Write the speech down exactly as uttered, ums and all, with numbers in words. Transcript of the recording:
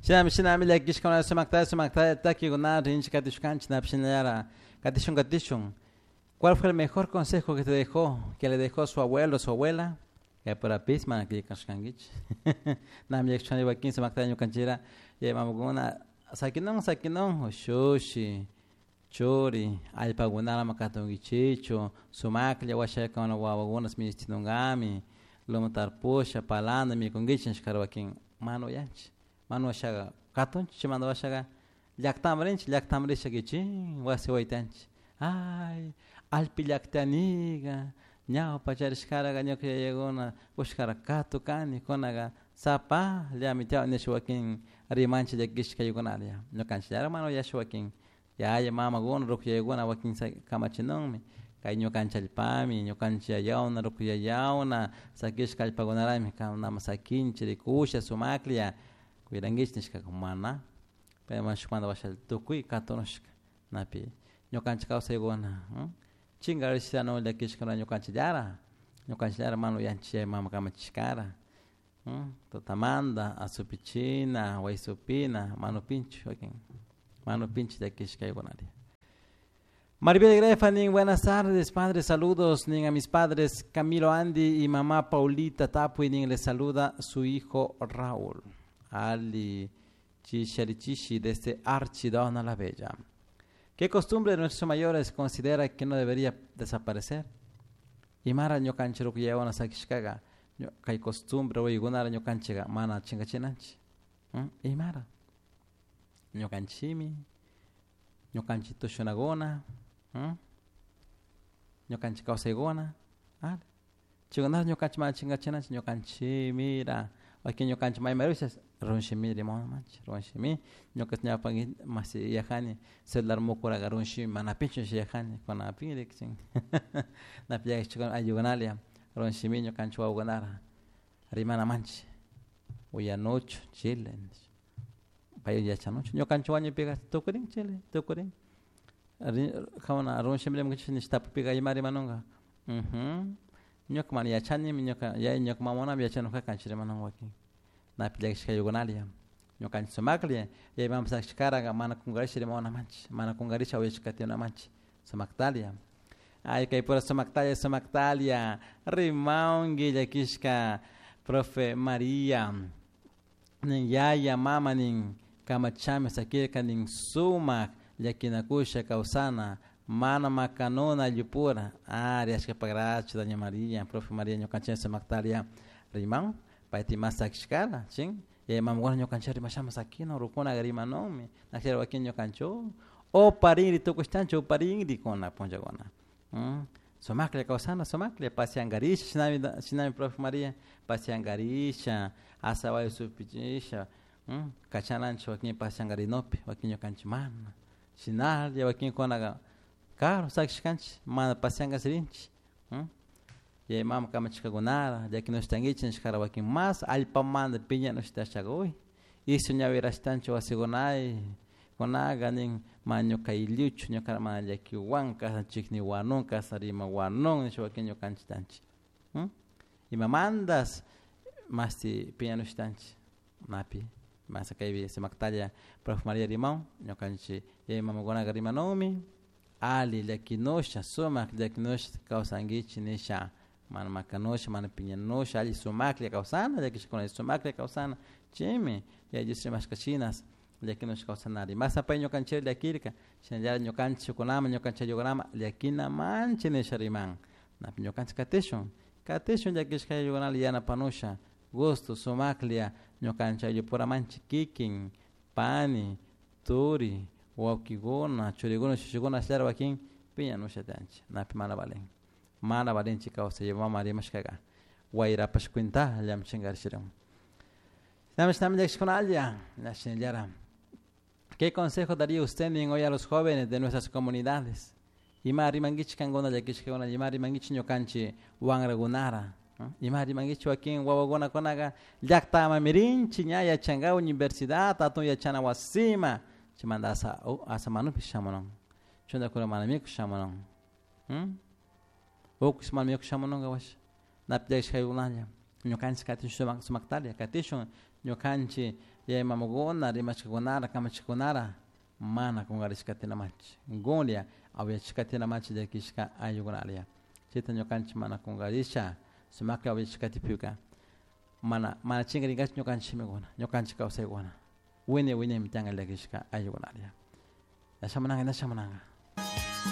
Shinami shinami llakishkuna sumakta sumakta takikuna rinchik katishkanchik napshinallara katishun katishun. ¿Cuál fue el mejor consejo que te dejó, que le dejó su abuelo, su abuela? Kay purapis mana killkashkankichik. Nami llakishkani wakin sumakta ñukanchira yaya mamakuna sakinun sakinun ushushi churi allpakunara ama katunkichichu sumaklla washakuna wawakuna minishtinunkami loma tarpusha palanda mikunkichik nishkara wakin mana uyanchik mana washaka katunchik chaymanta washaka llaktaman rinchik llaktaman risha kichin wasi waytanchik ay allpi llaktaniga ñawpa charishkaraga ñuka yayakuna ushkara katukani kunaka sapallami tiyan nisha wakin rimanchik llakishka kaykunata ñukanchik mana uyasha wakin yaya mamakuna ruku yayakuna wakin kamachinunmi kay ñukanchik allpami ñukanchik yayawna ruku yayawna sakishka allpakunarami nama sakinchik rikusha sumaklla cuidankichik nishkaka mana pero shukmanta washa tukuy katunushka napi ñukanchik kawsaykuna chinkarishana llakishkuna ñukanchikllara ñukanchikllara mana uyanchik yaya mama kamachishkara tutamanta asupichina waysupina mana upinchik wakin mana upinchik llakishka kaykunata. Maribel Grefa, nin, buenas tardes, padres, saludos, nin, a mis padres Camilo Andy y mamá Paulita Tapui, nin, les saluda su hijo Raúl. Ali Chicharichishi desde Archidona la Bella. ¿Qué costumbre de nuestros mayores considera que no debería desaparecer? Imara ñukanchik rukuyaywana sakishkaga kay costumbre waykunara ñukanchikka mana chinkachinanchik. Imara ñukanchikmi ñukanchik tushunakuna ñukanchik kawsaykuna chaykunata ñukanchik mana chinkachinanchik ñukanchikmira wakin ñukanchik mayman risha runshimi rimawanchik runshimi ñuka ñawpa masi yajani celular mukuraga runshimi mana pinchu yajani kunapin rikchin napi llakishkuna ayllukunalla runshimi ñukanchik wawakunara rimanamanchik uyanuchu chile pay yachanuchu ñukanchik wañupika tukurin chile tukurin kawana runshimi rimankichik nish tapupika ima rimanunka ñuka mana yachanimi ñuka yaya ñuka mamanami yachanujaka kanchik rimanun wakin napi llakishka ayllukunalla ñukanchik sumaklla yaya mama sakishkaraga mana kunkarisha rimawanamanchik mana kunkarisha uyashka katiwanamanchik sumaktalla ay kay pura sumaktalla sumaktalla rimawanki llakishka profe Maria nin yaya mama nin kamachami sakirka nin sumak llakinakusha kawsana mana makanuna ayllupura ari ashkapagracho doña Maria profe Maria ñukanchik sumaktalla riman payta ima sakishkara chin yaya mamakuna ñukanchik rimashama sakina rukuna rimanunmi nakshara wakin ñukanchik uparinri tukushtanchik uparinri kuna punllakuna sumaklla kawsana sumaklla pasiankarisha shinami shinami profe Maria pasiankarisha asawayo supichisha kachananchik wakin pasiankarinopi wakin ñukanchik mana shinalla wakinkunaka karu sakishkanchik mana pasiankash rinchik yaya mama kamachishkakunara llakinushtankichik nishkara wakin mas allpamanta piñanushtashaga uy isu ñawirashtanchik wasikunay kunaka nin mana ñuka aylluchu ñuka mana llakiwan kashna chikniwanun kashna rimawanun nisha wakin ñukanchik tanchik imamantas mashti piñanushtanchik napi masa kaypi sumaktalla profe Maria rimawan ñukanchik yaya mamakunaka rimanunmi alli llakinusha sumak llakinusha kawsankichik nisha mana makanusha mana piñanusha alli sumaklla kawsana llakishkuna sumaklla kawsana chaymi yaya Dios rimashka shinas llakinusha kawsanari masa pay ñukanchik llakirka shinallara ñukanchik shukunaman ñukanchik ayllukunaman llakinamanchik nisha riman napi ñukanchik katishun katishun llakishka ayllukunata yanapanusha gusto sumaklla ñukanchik ayllupuramanchik kikin pani turi wawkikuna churikuna shushikuna ashllara wakin piñanusha tiyanchik napi mana valin mana valinchik kawsay mama rimashkaka wayrapash cuentallami chinkarishirin shinami shinami llakishkunalla shinallara. ¿Qué consejo daría usted hoy a los jóvenes de nuestras comunidades? Ima rimankichik kankuna llakishkakuna ima rimankichik ñukanchik wanrakunara ima rimankichik wakin wawakunakunaka llaktamanmi rinchik ña yachanka universidad hatun yachana wasima chaymanta asa asa manupish shamunun chuntakuna mana mikush shamunun ukush mana mikush shamununka washa napi llakishkaykunalla ñukanchik katishun sumaktalla katishun ñukanchik Yaya mamakuna rimashkakunara kamachikkunara mana kunkarishkatina manchik gunlla awillachishkatina manchik llakishka ayllukunalla chayta ñukanchik mana kunkarisha sumakta awillachishkatipika mana mana chinkarinkachu ñukanchik shimikuna ñukanchik kawsaykuna wiñay wiñaymi tiyanka llakishka ayllukunalla ña shamunanka ña shamunanka.